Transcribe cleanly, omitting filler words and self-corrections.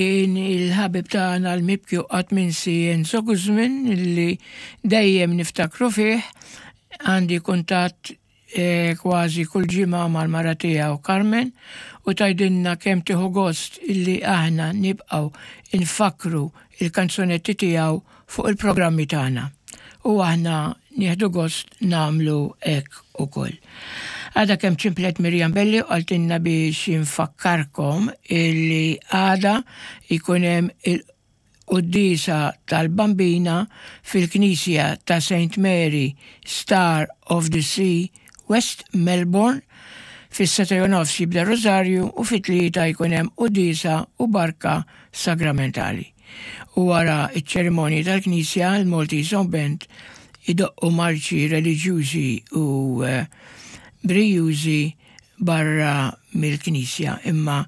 Kien il-ħabib tagħna l-mibki u qatt minsi Enzo Guzman li dejjem niftakru fih, għandi kuntatt eh, kważi kull ġimgħa mal-mara tiegħu Carmen u tgħidilna kemm tieħu gost illi aħna nibqgħu nfakkru il-kanzunetti tiegħu fuq il-programmi tagħna. U aħna nieħdu gost nagħmlu hekk ukoll. Għada kemm ċimplet Mirjam Belli u qaltilna biex infakkarkom illi għada jkun hemm il-quddiesa tal-Bambina fil-Knisja ta' St. Mary Star of the Sea, West Melbourne, fis-7 nofs jibda Rożarju u fit-3 jkun hemm quddiesa u barka sagramentali. U wara ċ-ċerimonji tal-Knisja, l-Maltese Song Band idoqqu marċi reliġjużi u eh, brijużi barra mill-Knisja. Imma